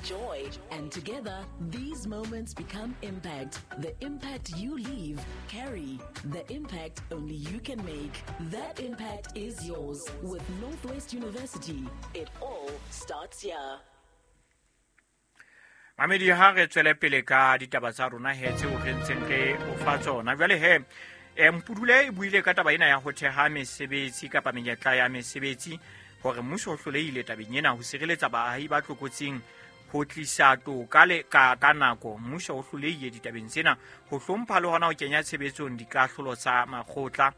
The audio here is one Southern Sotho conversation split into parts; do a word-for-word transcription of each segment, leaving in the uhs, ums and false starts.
joy. And together, these moments become impact. The impact you leave, carry. The impact only you can make. That impact is yours with Northwest University. It all starts here. Mamedi, ha re tswele pele ka ditaba tsa rona he tseo re ntseng re o fa tsona. Jwale he, eh, Mpudule e buile ka taba ena ya ho theha mesebetsi kapa menyetla ya mesebetsi, hore mmuso o hlolehile tabeng ena ho sireletsa baahi ba tlokotsing, ho tlisa toka le ka, ka nako. Mmuso o hlolehile ditabeng tsena ho hlompha le hona ho kenya tshebetsong dikahlolo tsa makgotla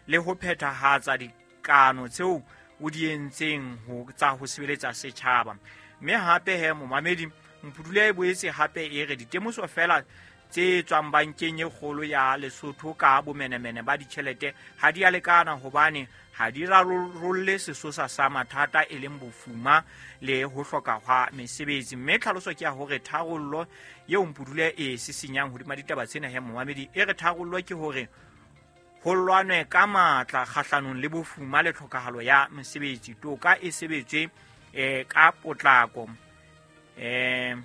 le ho phethahatsa dikano tseo o di entseng ho tsa ho sebeletsa setjhaba. Mme hape he, momamedi, Mpudule e boetse hape e re ditemoso feela tse tswang bankeng e kgolo ya Lesotho ka bomenemene ba ditjhelete ha di a lekana, hobane ha di rarolle sesosa sa mathata e leng bofuma le ho hloka hwa mesebetsi. Mme tlhaloso ke ya hore tharollo eo Mpudule e sisinyang hodima ditaba tsena he, momamedi, e re tharollo ke hore ho lwanwe ka matla kgahlanong le bofuma le tlhokahalo ya mesebetsi, toka e sebetswe eh, ka potlako. Eh,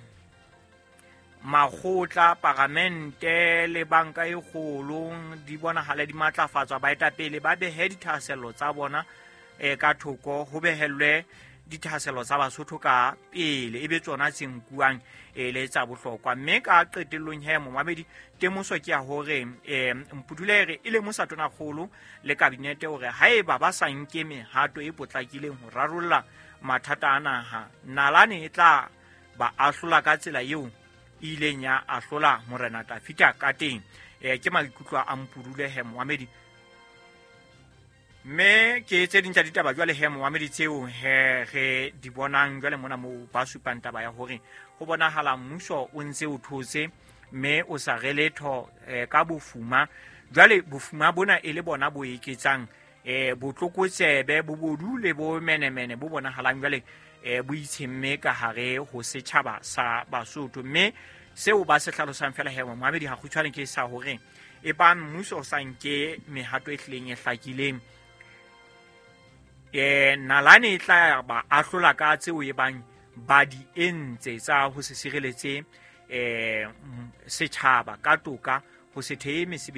makgotla, paramente le banka e kgolo di bonahala di matlafatswa, baetapele ba behe dithahasello tsa bona eh, ka thoko, ho behellwe dithahasello tsa Basotho ka pele, e be tsona tse nkuwang e le tsa bohlokwa. Mme ka qetellong he, momamedi, temoso ke ya hore eh, Mpudule e re e lemosa tonakgolo le kabinete hore haeba ba sa nke mehato e potlakileng ho rarolla mathata a naha, nalane e tla ba ahlola ka tsela eo e ileng ya ahlola Morena Tafita ka teng. Eh, ke maikutlo a Mpudule he, momamedi. Mme ke tse ding tsa ditaba jwale he, momamedi, tseo he re di bonang jwale mona moo ba supang taba ya hore ho bonahala mmuso o ntse o thotse mme o sa re letho eh, ka bofuma. Jwale bofuma bona e le bona bo eketsang eh, botlokotsebe, bobodu le bomenemene bo bonahalang jwale eh, bo itshemme ka hare ho setjhaba sa Basotho. Mme seo ba se hlalosang feela he, momamedi, ha kgutshwane ke sa hore e bang mmuso o sa nke mehato e hlileng e hlakileng, eh, nalane e tla ba ahlola ka tseo e bang ba di entse tsa ho se sireletse eh, setjhaba ka toka, ho se thehe mesebetsi.